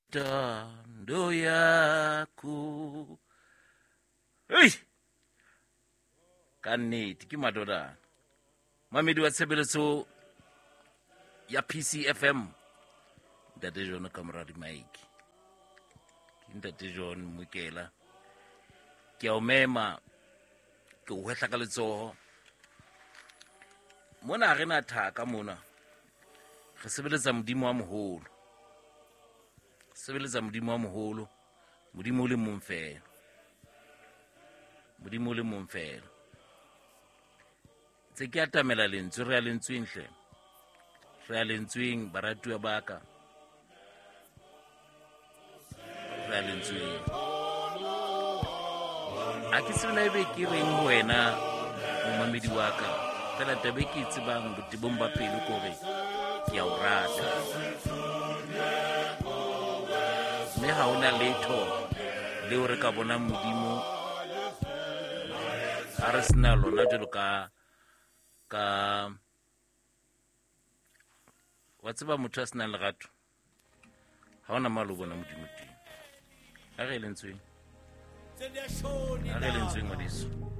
Tando yako. Ei! Ka nnete ke madodana. Mamedi wa tshebeletso ya PCFM. Ntate John ka mora di-mic. Ke Ntate John Mokela. Ke a o mema, ke o hwehla ka letsoho. Mona ha re na thaka mona. Re sebeletsa Modimo wa moholo. Sebeletsa Modimo wa moholo. Modimo o le mong feela. Modimo o le mong feela. Tse ke atamela lentswe, re ya lentsweng hle. Re ya lentsweng, baratuwa ba ka. Re ya lentsweng. A ke tsebe na ebe ke reng ho wena momamedi wa ka. Fela taba e ke e tsebang botebong ba pelo ke hore ke a o rata. Mme ha hona letho leo re ka bonang Modimo ha re sena lona jwalo ka ka wa tseba motho a senang lerato ha ona malo bona Modimo teng. Ha re lentsweng. Ha re lentsweng ngwaneso.